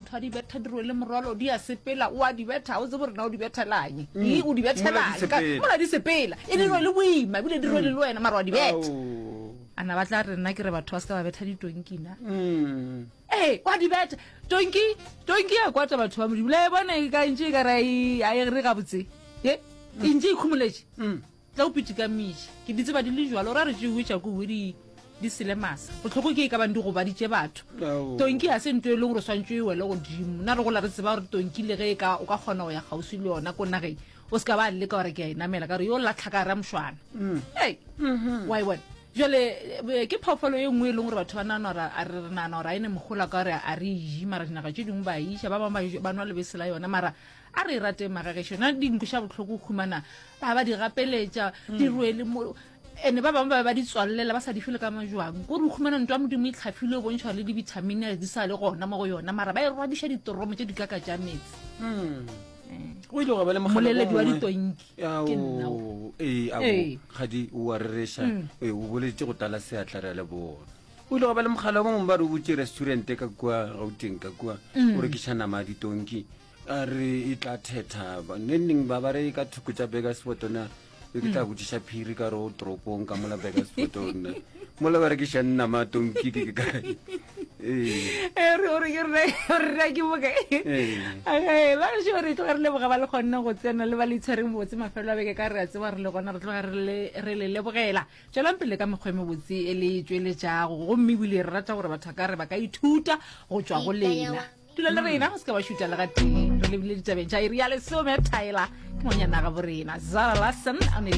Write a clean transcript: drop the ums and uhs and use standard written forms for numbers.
motho a di betha di rwele morwalo di a sepela o a di betha o tsebe gore na o di bethelang mm. o di bethelang mola di sepela e di rwele boima ebile di rwele le wena mara wa di betha a na ba tla re nna ke re batho ba se ka ba betha ditonkina mm. ee wa di betha tonki tonki ya kwata batho ba modimo le bone e ka ntše e ka re a e re gabotse e e ntše e khumoletše mm. Tla o pitikamiše. Ke di tseba di le jwalo. Ra re tšewe tša kowe di di sele masa. Bohloko ke e ka bang di gobaditše batho. Tonki ga se nto e leng gore swantšwe e wele godimo. Na re gola re tseba gore tonki le ge e ka o ka kgona go ya kgauswi le yona ko nageng o se ka ba leka gore ke a e namela ka gore yo latlha ka gare mošwana. Mm. Ei, mm-hmm. wa e bona. Jale eh, ke phoofolo e nngwe e leng gore batho ba nagana gore a re nagana gore a e ne mogola ka gore a re e je mara dinaga tše dingwe ba e iša ba bangwe ba nwa lebese la yona mara A re e rateng magagešo. Na di nkweša bohloko go humana ba ba di gapeletša di rwele mo ene ba bangwe ba be ba di tswalelela ba sa di fele ka majwang ko re o humana ntwa modimo e tlhafile o bontšha le dibithamine di sa le gona mo go yona mara ba e rwadiša ditoromo tše di kaka tša metse go ile gwa ba le mogala moleledi wa ditonki ke nna o. ee ao Ee. kgadi o a rereša ee o boletše go tlala seatla re a leboga o ile gwa ba le mogala o mongwe ba re o butše restaurant ka kua gauteng ka kua o rekiša nama ya ditonki A re e tla thetha neng neng ba ba re ka thoko tša Burgersfort na e ke tla botšiša phiri ka re o toropong ka mola Burgersfort nna mola ba rekišang nama tonki ke ke kae ee Eh, re ore ke rena re rena ke boka Ee. ee ba re re tloga re leboga ba le kgonne go tsena le ba le itshwereng botse mafelo a beke ka re a tseba re le gona re tloga re le re le lebogela tswelang pele ka mekgwa e mebotse e le tšweletšago gomme ebile re rata gore batho ba ka re ba ka ithuta go tšwa go lena dula le rena o se ka ba šuta le ga tee re lebile ditabeng tša iri ya lesome tyler ke ngwanyana ga borena zara larson o ne le.